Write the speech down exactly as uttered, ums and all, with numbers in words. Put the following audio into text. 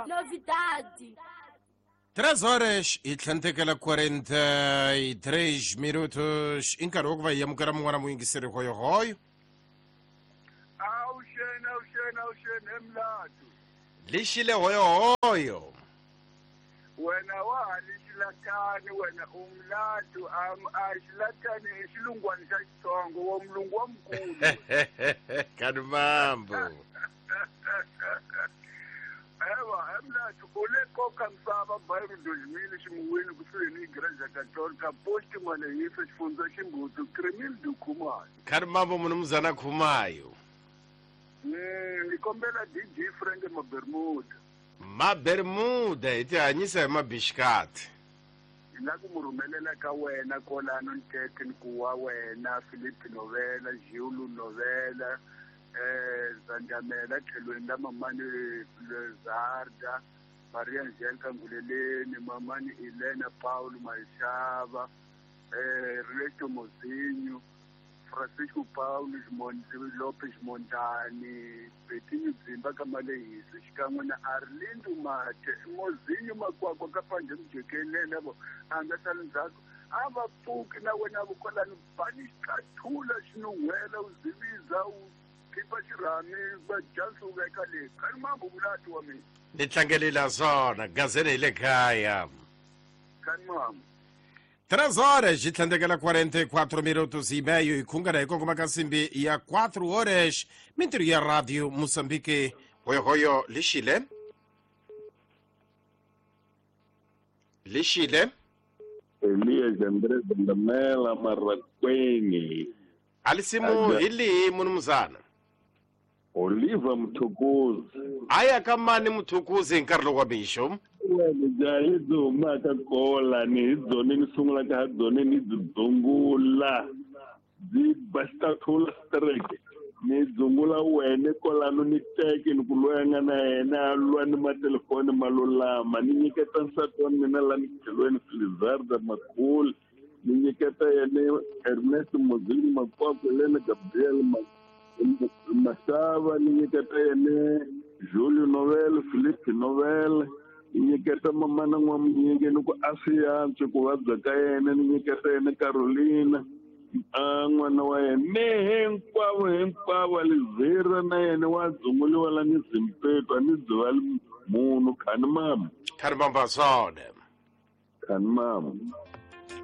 Novidade. três horas e tlhantekela quarenta e três minutos. I nkarhi wa ku va hi amukela mun'wana muyingiseri hoyohoyo. Awuxeni, awuxeni, awuxeni, emlatu. Lixile hoyohoyo. Wena wa ha lixilatani, wena umlatu, am a xilatani i xilungwani xa Xitsongo, wa mulungu wa mukulu. Kani mambo. Ewa, emlatu, u le koka misava bairro dois mil ximuwini kusuhi ni Igreja Católica, posto Malehisa, xifundza Ximbutu, Cremildo Khumalo. Kani mambo munumuzana Khumayo. Mm, ni kombela D J Frank Mabermuda. Mabermuda hi ti hanyisa hi mabixikati. Hi la ku mu rhumelela ka wena kwalano Ntete ni ku wa wena Philip Novela, Giulu Novela, eh Zandamela tlhelweni la mamani Lezarda, Maria Angelica Nguleleni, mamani Elena Paulo Maishava, eh Reto Mozinho, Francisco Paulo Lopes Montani, Betinho Dzimba ka Malehisa, xikan'we na Arlindo Mate, Mozinho Makwakwa ka Panje Mjekelele vo a nga sali ndzhaku. A va pfuki na wena vo kwalano bani xikathula xinun'hwela u ziviza u khipa xirhami va jansi u veka le. Kani mambo mulati wa mina. Ni tlangelela swona gazeni hi le kaya. Kani mambo. Três horas e tlhandekela quarenta e quatro minutos e meio e khungana hi kongoma ka nsimbi ya quatro horas. Mintirho ya Radio Moçambique. Hoyohoyo lixile. Lixile. Elias André Zandamela Marraquene. Alisimu hili munumuzana. Oliva Mthukuzi. Aya kamani Mthukuzi hi nkarhi lowu wa mixo. Wena jaha byi humaka kola ni hi byona ni sungulaka ha byona ni byi dzungula byi ba xitathula strike ni dzungula wena kwalano ni teke ni ku loyi a nga na yena a lwa ni matelefoni ma lulama ni nyiketa nsati wa mina la ni tlhelweni Filizarda Makhulu ni nyiketa yena Ernest Mozini Makwakwa Elena Gabriel Masava ni nyiketa yena Julio Novel Philippe Novel ni nyiketa mamana n'wamunyingi ni ku a swi antswi ku vabya ka yena ni nyiketa yena Carolina a n'wana wa yena ni hinkwavo hinkwavo Lizira na yena wa dzunguliwa la ni Zimpeto a ni dziva munhu khani mama khani mamba swona khani mama.